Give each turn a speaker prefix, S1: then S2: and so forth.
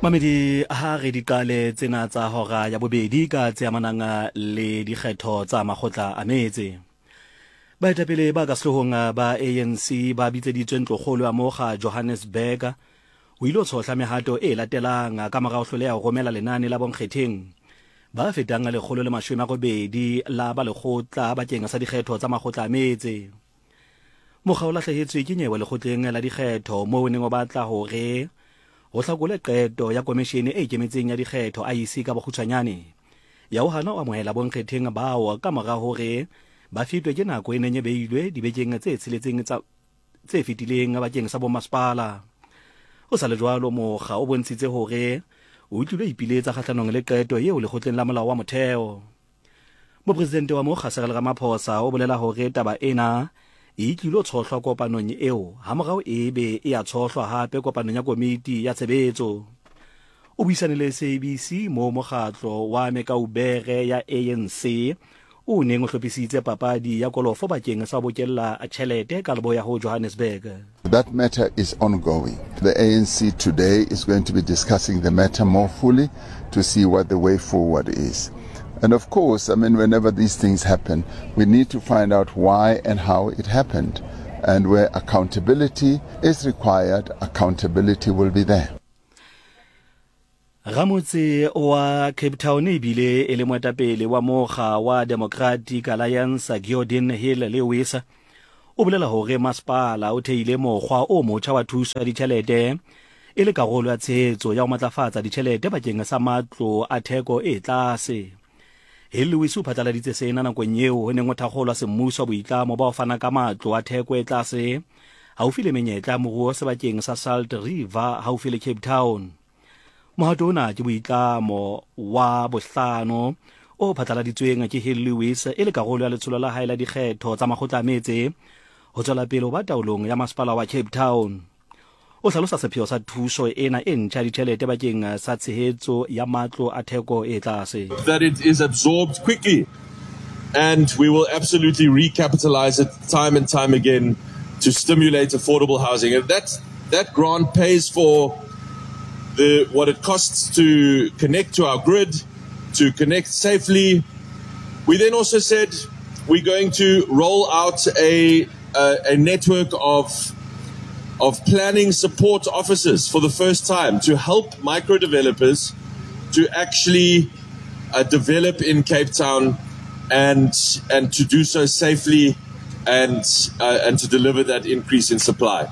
S1: Mamedi ha re di qale tsena tsa hora ya bobedi ka tse amanang le dikgetho tsa makgotla a metse. Baetapele ba ka sehloohong ba ANC ba bitseditswe ntlokgolo ya mokga Johannesburg ho ilo tshohla mehato e latelang ka mora ho hloleha ho romela lenane la bonkgetheng ba fetang 180 la ba lekgotla bakeng sa dikgetho tsa makgotla a metse. Mokga o lahlehetswe ke nyewe lekgotleng la dikgetho moo o neng o batla hore ho hlakole qeto ya komeshene e ikemetseng ya dikgetho IEC ka bokgutshwanyane ya ho hana ho amohela bonkgetheng bao ka mora hore ba fetwe ke nako e neng e beilwe dibekeng tse tsheletseng tsa tse fetileng bakeng sa bomasepala. Ho sa le jwalo, mokga o bontshitse hore o tlilo ipiletsa kgahlanong le qeto eo lekgotleng la molao wa motheo. Mopresidente wa mokga Cyril Ramaphosa o bolela hore taba ena e tlilo tshohlwa kopanong eo hamorao e be e a tshohlwa hape kopanong ya komiti ya tshebetso. O buisane le SABC moo mokgatlo wa mekaubere ya ANC o neng o hlophisitse papadi ya kolofo bakeng sa ho bokella tjhelete ka leboya ho Johannesburg.
S2: That matter is ongoing. The ANC today is going to be discussing the matter more fully to see what the way forward is. And of course, I mean, whenever these things happen, we need to find out why and how it happened. And where accountability is required, accountability will be there.
S1: Ramotse wa Cape Town e bile e le moetapele wa mokga wa Democratic Alliance Geordin Hill-Lewis o bolela hore masepala o theile mokgwa o motjha wa thuso ya ditjhelete e le karolo ya tshehetso ya ho matlafatsa ditjhelete bakeng sa matlo a theko e tlase. Hill-Lewis o phatlaladitse sena nakong eo ho neng ho thakgolwa semmuso boitlamo ba ho fana ka matlo a theko e tlase haufi le menyetla ya moruo sebakeng sa Salt River haufi le Cape Town. Mohato ona ke boitlamo wa bohlano o phatlaladitsweng ke Hill Lewis e le karolo ya letsholo la hae la dikgetho tsa makgotla a metse ho tswela pele ho ba taolong ya masepala wa Cape Town. O hlalosa sepheo sa thuso ena e ntjha ya ditjhelete bakeng sa tshehetso ya matlo a theko e tlase.
S3: That it is absorbed quickly and we will absolutely recapitalize it time and time again to stimulate affordable housing. And that, that grant pays for the, what it costs to connect to our grid, to connect safely. We then also said we're going to roll out a, a, a network of of planning support offices for the first time to help micro developers to actually uh, develop in Cape Town and and to do so safely and uh, and to deliver that increase in supply.